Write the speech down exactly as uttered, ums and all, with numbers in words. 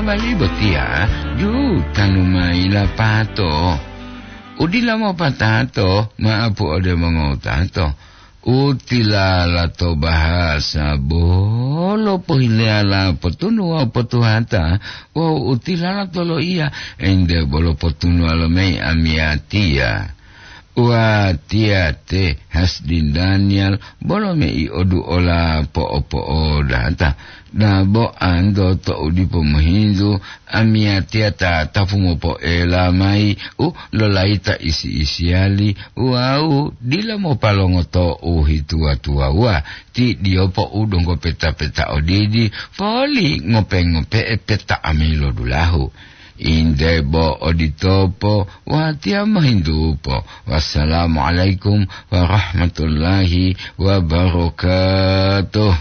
Bali botiya jutanu mayi lapato. Udila mopatato, maapu ode mongowutato. Utilala to bahasa bolo pohileyala potunu wawu potuhata, wawu utilala to loiya ende bolo potunuwalo mayi amiyatiya. Watiya te Hasdin Daniel bolo mei oduola po'opo'odata. Dabo anto to'u dipo mohintu, amiyatiya ta tapu mopoela mayi u lolayita isi-isiyali wawu dila mopalongoto u hituwa-tuwawuwa. Ti diyopo u donggo peta-peta odidi, poli ngope-ngope'e peta amilo dulahu. Inde bo oditopo, watiya mohintupo. Wassalamualaikum warahmatullahi wabarakatuh.